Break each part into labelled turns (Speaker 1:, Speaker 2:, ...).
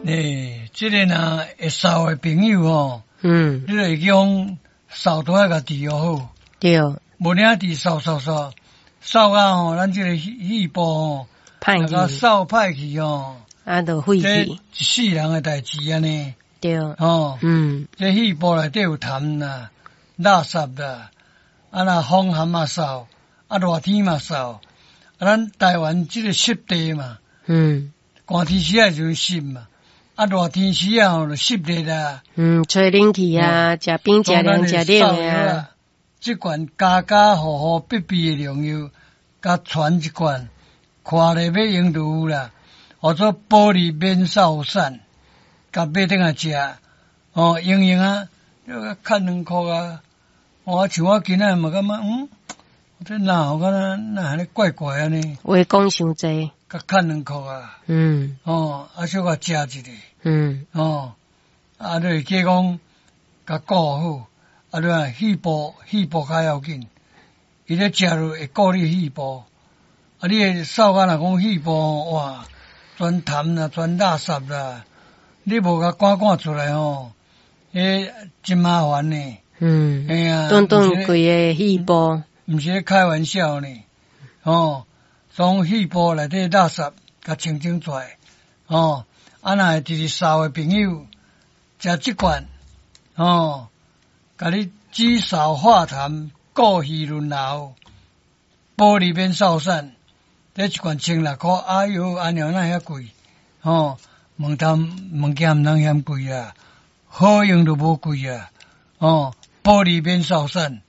Speaker 1: 欸，這个若會掃的朋友吼，你就會講掃都愛共治好。無領治掃掃掃掃到吼，咱這个肺部吼，
Speaker 2: 歹
Speaker 1: 去，掃歹去吼，
Speaker 2: 啊，就廢去，
Speaker 1: 一世人的代誌按呢。吼，這肺部內底有痰啦、垃圾啦，啊若風寒嘛掃，啊熱天嘛掃，啊咱台灣這个濕地嘛，寒天時仔就濕嘛，啊熱天時仔吼就濕熱啦。
Speaker 2: 吹冷氣啊，食冰食涼食冷的啊。
Speaker 1: 這罐家家戶戶必備的良藥，共傳一罐，看咧欲用就有啦。號做保利免掃散，共買轉來食，哦，用用啊，較2箍啊。我像我今仔嘛感覺，這哪有敢若哪按呢怪怪按呢？
Speaker 2: 話講傷濟，
Speaker 1: 共較2箍啊。哦，啊小可食一下。哦，啊，你會記講，共顧好。啊！你看肺部，肺部較要緊，伊咧食落會顧你肺部。啊！你會掃甲若講肺部哇，全痰啦，全垃圾啦，你無共趕趕出來吼，彼真麻煩呢。嘿啊，
Speaker 2: 頓頓規个肺部，
Speaker 1: 毋是咧開玩笑呢。哦，從肺部內底垃圾共清清出來。哦，啊，若會直直掃的朋友，食這罐，哦。共你止嗽化痰、顧肺潤喉、保利免掃散，這一罐16箍，哎喲，按呢哪遐貴？吼，物件物件毋通嫌貴啊，好用就無貴啊，哦，保利免掃散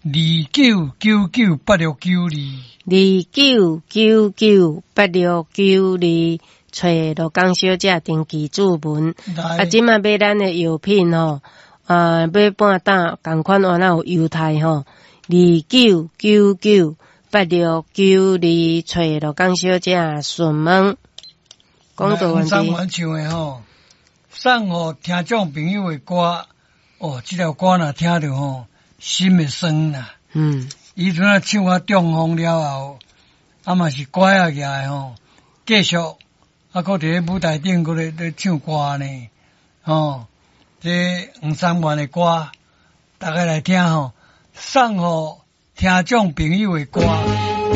Speaker 1: ，29998692，29998692，
Speaker 2: 揣羅江小姐登記注文。啊，這馬買咱的藥品吼。啊，買半擔仝款，原來有優待吼，29998692，揣羅江小姐詢問。講到問題。
Speaker 1: 三唱的吼，送予聽眾朋友的歌，哦，這條歌若聽著吼，心會酸啦。伊陣仔唱啊中風了後，啊嘛是拐仔舉的吼，繼續啊，閣佇咧舞台頂閣咧咧唱歌呢，吼。這黃三元的歌，大家來聽吼，送予聽眾朋友的歌。